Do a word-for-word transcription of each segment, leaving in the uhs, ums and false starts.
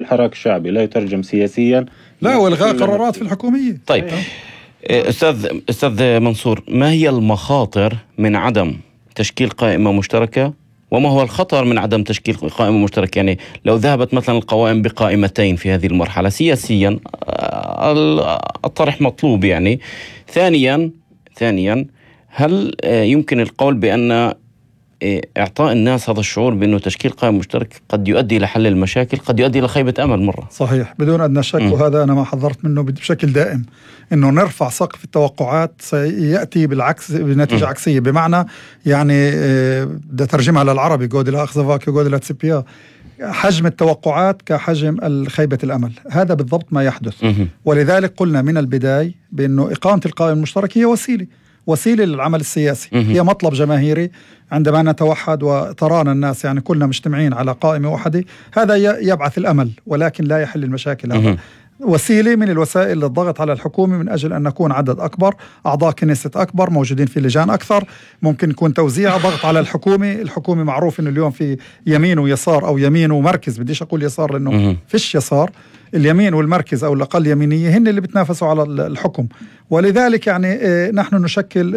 الحراك الشعبي لا يترجم سياسيا لا والغاء قرارات في الحكومية. طيب أستاذ أستاذ منصور، ما هي المخاطر من عدم تشكيل قائمة مشتركة، وما هو الخطر من عدم تشكيل قائمة مشتركة؟ يعني لو ذهبت مثلا القوائم بقائمتين في هذه المرحلة سياسيا الطرح مطلوب يعني. ثانيا ثانيا هل يمكن القول بأن إعطاء الناس هذا الشعور بأنه تشكيل قائمة مشتركة قد يؤدي إلى حل المشاكل، قد يؤدي إلى خيبة أمل مرة؟ صحيح بدون أدنى شك، وهذا أنا ما حذرت منه بشكل دائم، إنه نرفع سقف التوقعات سيأتي بالعكس بنتيجة م. عكسية. بمعنى يعني بدي أترجمها للعربي جود لا أخذفاك جود لا تسبيا، حجم التوقعات كحجم خيبة الأمل، هذا بالضبط ما يحدث. م. ولذلك قلنا من البداية بأنه إقامة القائمة المشتركة هي وسيلة وسيلة للعمل السياسي، م. هي مطلب جماهيري. عندما نتوحد وترانا الناس يعني كلنا مجتمعين على قائمة واحدة، هذا يبعث الأمل ولكن لا يحل المشاكل. هذا وسيلة من الوسائل للضغط على الحكومة من أجل أن نكون عدد أكبر، أعضاء كنيسة أكبر، موجودين في لجان أكثر، ممكن يكون توزيع ضغط على الحكومة. الحكومة معروف أنه اليوم في يمين ويسار أو يمين ومركز، بديش أقول يسار لأنه فيش يسار، اليمين والمركز أو الأقل يمينية هن اللي بتنافسوا على الحكم. ولذلك يعني نحن نشكل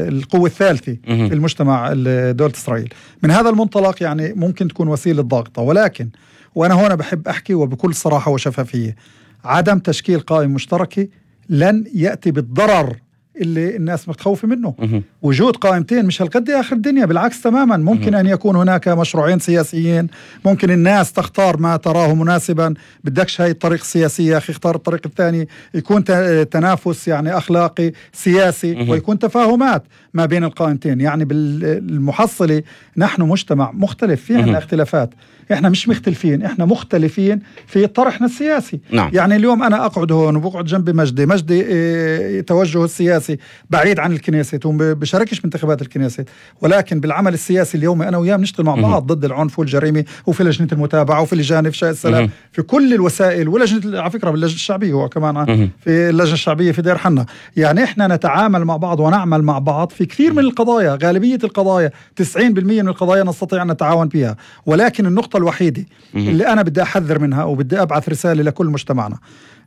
القوة الثالثة في المجتمع دولة إسرائيل. من هذا المنطلق يعني ممكن تكون وسيلة ضغط، ولكن وأنا هنا بحب أحكي وبكل صراحة وشفافية، عدم تشكيل قائمة مشتركة لن يأتي بالضرر اللي الناس متخوفة منه. وجود قائمتين مش هالقد آخر الدنيا، بالعكس تماما. ممكن أن يكون هناك مشروعين سياسيين، ممكن الناس تختار ما تراه مناسبا، بدكش هاي الطريق السياسية أخي اختار الطريق الثاني، يكون تنافس يعني أخلاقي سياسي ويكون تفاهمات ما بين القائمتين. يعني بالمحصلة نحن مجتمع مختلف، في عنا اختلافات، احنا مش مختلفين، احنا مختلفين في طرحنا السياسي. نعم. يعني اليوم انا اقعد هون وبقعد جنب مجدي مجدي اه توجهه السياسي بعيد عن الكنيسة وبشاركش بانتخابات الكنيسة، ولكن بالعمل السياسي اليوم انا وياه بنشتغل مع بعض ضد العنف والجريمة، وفي لجنة المتابعة وفي لجان افشاء السلام في كل الوسائل، ولجنة على فكرة باللجنة الشعبية هو كمان في اللجنة الشعبية في دير حنا. يعني احنا نتعامل مع بعض ونعمل مع بعض في كثير من القضايا، غالبية القضايا تسعين بالمئة من القضايا نستطيع أن نتعاون فيها. ولكن النقطة الوحيدة اللي أنا بدي أحذر منها وبدي أبعث رسالة لكل مجتمعنا،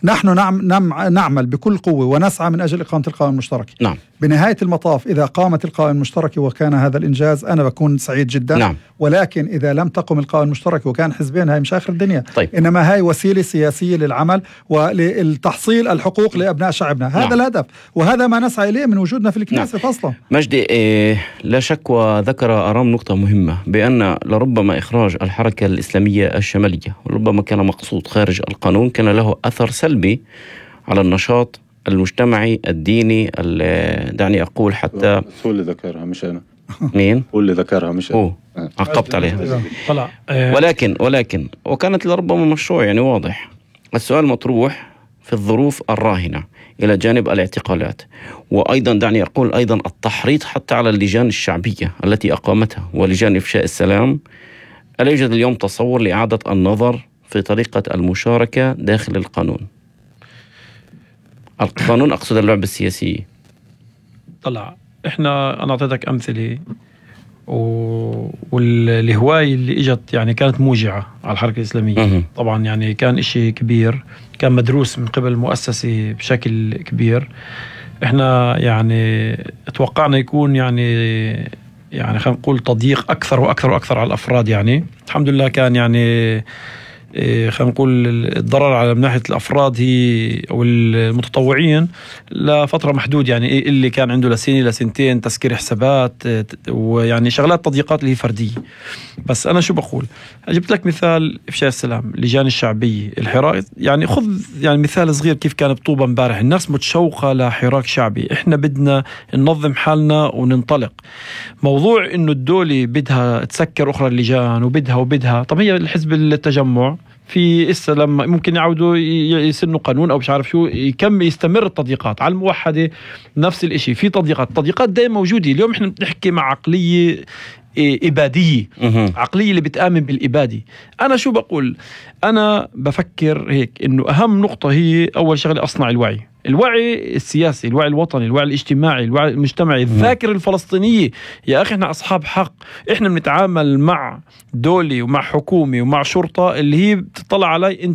نحن نعم نعم نعمل بكل قوة ونسعى من أجل إقامة القائمة المشتركة. نعم. بنهاية المطاف إذا قامت القائمة المشتركة وكان هذا الإنجاز أنا بكون سعيد جدا. نعم. ولكن إذا لم تقم القائمة المشتركة وكان حزبين، هاي مش آخر الدنيا. طيب. إنما هاي وسيلة سياسية للعمل وللتحصيل الحقوق لأبناء شعبنا. هذا نعم. الهدف، وهذا ما نسعى إليه من وجودنا في الكنيسة. نعم. أصلا مجدي إيه لا شك وذكر أرام نقطة مهمة، بأن لربما إخراج الحركة الإسلامية الشمالية وربما كان مقصود خارج القانون كان له أثر سلبي على النشاط المجتمعي الديني. دعني أقول حتى هو اللي ذكرها مش أنا. مين؟ هو اللي ذكرها مش أنا. هو عقبت عليها. ولكن ولكن وكانت لربما مشروع يعني واضح. السؤال مطروح في الظروف الراهنة إلى جانب الاعتقالات، وأيضا دعني أقول أيضا التحريض حتى على اللجان الشعبية التي أقامتها ولجان إفشاء السلام. ألا يوجد اليوم تصور لإعادة النظر في طريقة المشاركة داخل القانون؟ القانون أقصد اللعبة السياسية. طلع إحنا أنا أعطيتك أمثلة و... والهواية اللي إجت يعني كانت موجعة على الحركة الإسلامية. مه. طبعا يعني كان إشي كبير، كان مدروس من قبل المؤسسة بشكل كبير. إحنا يعني توقعنا يكون يعني يعني خلينا نقول تضييق أكثر وأكثر وأكثر على الأفراد. يعني الحمد لله كان يعني خلينا نقول الضرر على من ناحية الأفراد هي أو المتطوعين لفترة محدود، يعني اللي كان عنده لسنة لسنتين تسكير حسابات ويعني شغلات تضييقات اللي هي فردية. بس أنا شو بقول، جبت لك مثال إفشاء السلام، اللجان الشعبية، الحراك. يعني خذ يعني مثال صغير كيف كان بطوبة امبارح، الناس متشوقة لحراك شعبي. إحنا بدنا ننظم حالنا وننطلق. موضوع إنه الدولة بدها تسكر أخرى اللجان وبدها وبدها، طب هي الحزب التجمع في إسا لما ممكن يعودوا يسنوا قانون أو مش عارف شو يكم يستمر التضييقات على الموحدة. نفس الإشي في تضييقات، تضييقات دائما موجودة. اليوم إحنا بنحكي مع عقلية إبادية، عقلية اللي بتآمن بالإبادة. أنا شو بقول، أنا بفكر هيك إنه أهم نقطة هي أول شغلة أصنع الوعي، الوعي السياسي، الوعي الوطني، الوعي الاجتماعي، الوعي المجتمعي، الذاكرة الفلسطينية. يا أخي إحنا أصحاب حق، إحنا بنتعامل مع دولة ومع حكومة ومع شرطة اللي هي بتطلع علي أنت